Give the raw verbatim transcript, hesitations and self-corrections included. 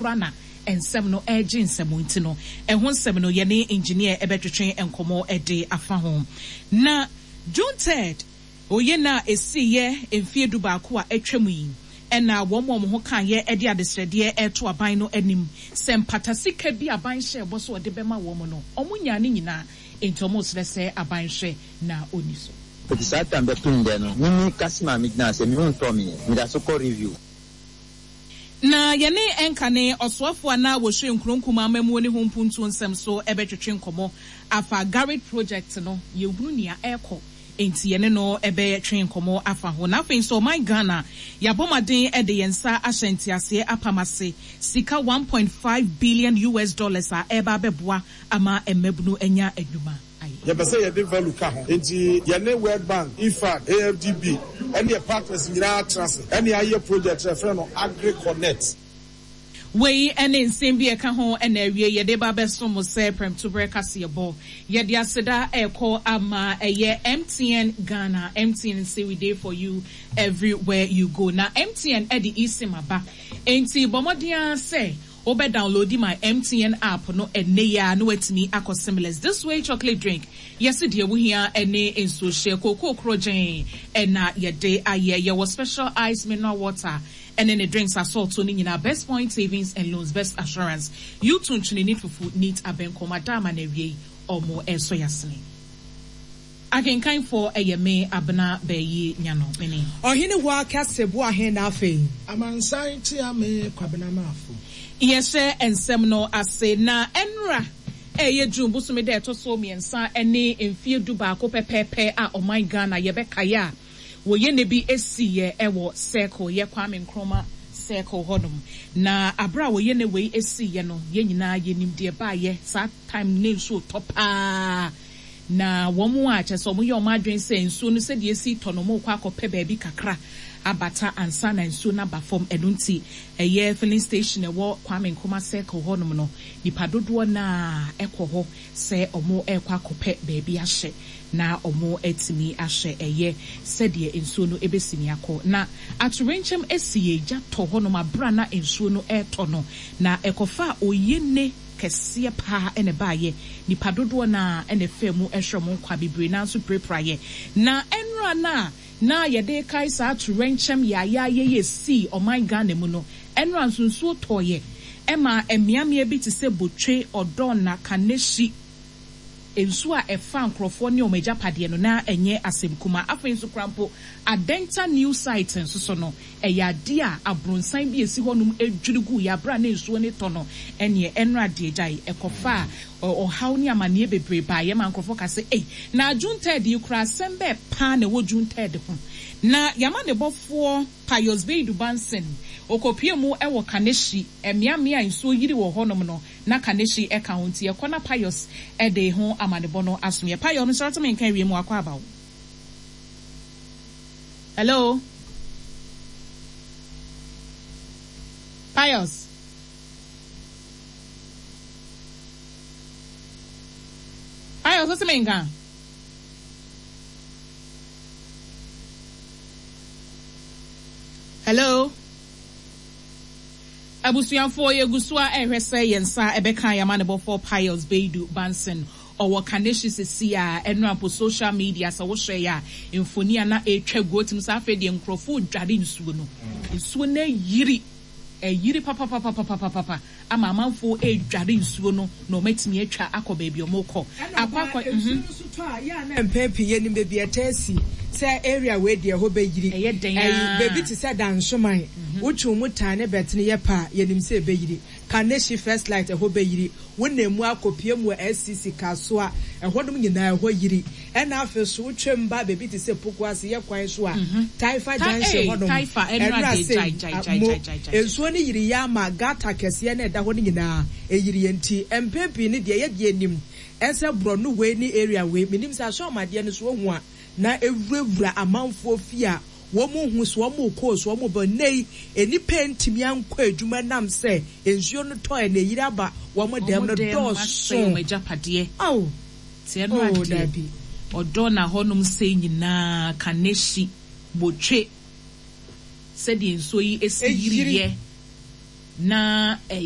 koraa na nsɛm no ɛregye nsɛm nti no, ɛho nsɛm no yɛne engineer ɛbɛtwetwe nkɔmmɔ de afa ho. Na June third, oyɛ na esiyɛ mfie du baako a atwam yi, ɛna wɔn a wɔn ho kaeɛ de adesrɛdeɛ ɛreto aban no anim sɛ mpata sika bi aban hyɛ bɔ so ɔde bɛma wɔn no, wɔn nyaa ne nyinaa, nti wɔn resrɛ sɛ aban hwɛ na ɔni so. Eti saa time bɛpem dɛ no, mimi kasi ma megyina sɛ mehu ntɔ me meda so kɔ review. Na yɛne ɛnka ne ɔsoafoɔ a na wɔhwɛ nkuronkum amamuo ne ho mpuntuo nsɛm so ɛbɛtwetwe nkɔmmɔ afa GARID project no, yɛhunu nea ɛrekɔ nti yɛne no ɛbɛtwe nkɔmmɔ afa ho. Na afei nso ɔman Ghana yɛabɔ mmɔden de yɛn nsa ahyɛ nteaseɛ apam ase sika one point five billion U S dollars a ɛreba abɛboa ama mmabunu anya adwuma ayɛ. Yɛpɛ sɛ yɛde value ka ho, nti yɛne World Bank, I F A D, A F D B ɛne yɛ partners nyinaa tena ase ɛne ayɛ project yɛfrɛ no AgriConnect. Wei ne nsɛm bi ɛka ho ɛna awie yɛde ba bɛso mo sɛ prɛmtoberɛ kaseɛbɔ. Yɛde aseda ɛkɔ ama ɛyɛ M T N Ghana. M T N say we dey for you everywhere you go. Na M T N ɛde eSIM aba, enti bɔ mmɔden ara sɛ wobɛ download my M T N app no ɛnɛ yi a na watumi akɔ seamless. This Way chocolate drink, yɛsi deɛ wohia ɛne nsuohyɛ kookoo korɔgyɛn ɛna yɛde ayɛ. Yɛwɔ Special Ice mineral water ɛne ne drinks asɔɔto no nyinaa. Best Point Savings and Loans, best assurance. Yutu ntwene ne fufu neat abɛnkɔm adaama na awie yi ɔmo ɛsɔ yasene. Akenkanfoɔ ɛyɛ me Abena Bɛyi Nyano mene. Ɔhene hɔ akɛse bo ahen na afei. Amansan tia me Kwabena Maafo. Yɛhyɛ nsɛm no ase na ɛnra ɛyɛ June bosome dɛ ɛtɔ so mmiɛnsa ne mfie du baako pɛpɛɛpɛ a ɔman Ghana yɛbɛkaeɛ a wɔyɛ ne bi esiyɛ ɛwɔ Circle, yɛ Kwame Nkrumah Circle hɔnom. Na abere a wɔyɛ ne wei esiyɛ no, yɛn nyinaa yɛnim deɛ baayɛ. Saa time ne nsuo tɔ paa na wɔn a kyerɛ sɛ wɔn yɛ wɔn adwene sɛ nsuo no sɛdeɛ esi tɔ no, wɔn kɔ akɔpɛ baabi kakra abata ansa na nsuo no aba fam. Ɛno nti ɛyɛ filling station ɛwɔ Kwame Nkrumah Circle hɔnom no, nipa dodoɔ naa ɛkɔ hɔ sɛ wɔn ɛrekɔ akɔpɛ baabi ahyɛ na wɔn atumi ahyɛ ɛyɛ sɛdeɛ nsuo no ebesi ne akɔ. Na atorenkyɛm esi yɛ gya tɔ hɔnom abera na nsuo no ɛretɔ no, na ɛkɔfa oyene kɛseɛ paa ɛna ɛbaayɛ. Nipa dodoɔ naa ɛna ɛfɛ mu ɛhwɛ wɔn nkwa bebree nanso pirapiraeɛ. Na ɛnura na na yɛde kae saa atorenkyɛm yaayaayɛ yɛ si ɔman Ghana mu no, ɛnura nso nsuo tɔɔyɛ ɛma mmeammea bi te sɛ Botwe, Ɔdɔn Kaneshie, nsuo a ɛfa nkurɔfoɔ ne wɔn agyapadeɛ no na ɛnyɛ asɛm kuma. Afei nso koraa mpo Adenta New Site nso so no, ɛyɛ adeɛ a abrɔnsan bi esi hɔnom edwiri gu yɛ abira ne nsuo ne tɔ no. Ɛneɛ ɛnora deɛ gyae ɛkɔfa a ɔhaw ne amanneɛ bebree baa yɛ ma nkurɔfoɔ ka sɛ ei, na June third yi koraa asɛm bɛɛ paa na ɛwɔ June third ho. Na yɛama ne bɔfoɔ Pius Beidu Banson okopie mu ɛwɔ Kaneshie, mmeammea a nsuo yiri wɔ hɔnom no na Kaneshie ɛka ho, nti ɛkɔ na Pius ɛde ho amanebɔ no asom yɛ. Pius no sɔrɔ tumi nka awie mu akɔ abawo. Hello Pius. Pius, wosi mi nka? Hello abusuafoɔ, yɛgu so a ɛhwɛ sɛ yɛn nsa ɛbɛka yɛama ne bɔfoɔ Pius Beidu Banson, ɔwɔ Kaneshie sisi a ɛno apo social media sɛ wohwɛ yɛ a mfoni a na ɛtwa gu otim sɛ afei deɛ nkurɔfoɔ dware nsuo no, nsuo no ayiri, ɛyiri papapapapapapa ama amanfoɔ ɛredware nsuo no na wɔatumi atwa akɔ baabi a wɔrekɔ akɔ akɔ. Nsuo no so tɔ a yɛ a na mpɛn pii yɛnim baabi ɛtɛ si sɛ area wei deɛ ɛhɔ bɛyiri. Ɛyɛ den. Ɛyi baabi te sɛ Dansoman, wotwe mu tan ne bɛtene yɛ pa a yɛnim sɛ ɛbɛyiri. Kaneshie First Light ɛhɔ bɛyiri, wonam mu akɔpie mu wɔ S C C Kasoa, ɛhɔnom nyinaa ɛhɔ yiri. Ɛna afei so wotwam ba baabi te sɛ Pokuase yɛ kwan so a Taifa Junction hɔnom, ɛnura sɛ mo nsuo no yiri yɛ ama gutter kɛseɛ na ɛda hɔ no nyinaa ɛyiri yɛ. Nti mpɛn pii no deɛ yɛdeɛ anim ɛsɛ borɔno wei ne area wei menim sɛ asɔmadeɛ no so ohu a na ewurawura amanfoɔ fie a wɔn hu so wɔn kɔɔ so wɔn bɔ nne yi enipa ntumi ankɔ adwuma nam sɛ nsuo no tɔ ɛ na eyiri aba wɔn dɛm no dɔɔso. Wɔn agyapadeɛ. Aw. Tiɛ no adeɛ ɔdɔ na hɔnom sɛ nyinaa Kaneshie, Botwe, sɛdeɛ nsuo yi esi yiriyɛ na ɛyɛ.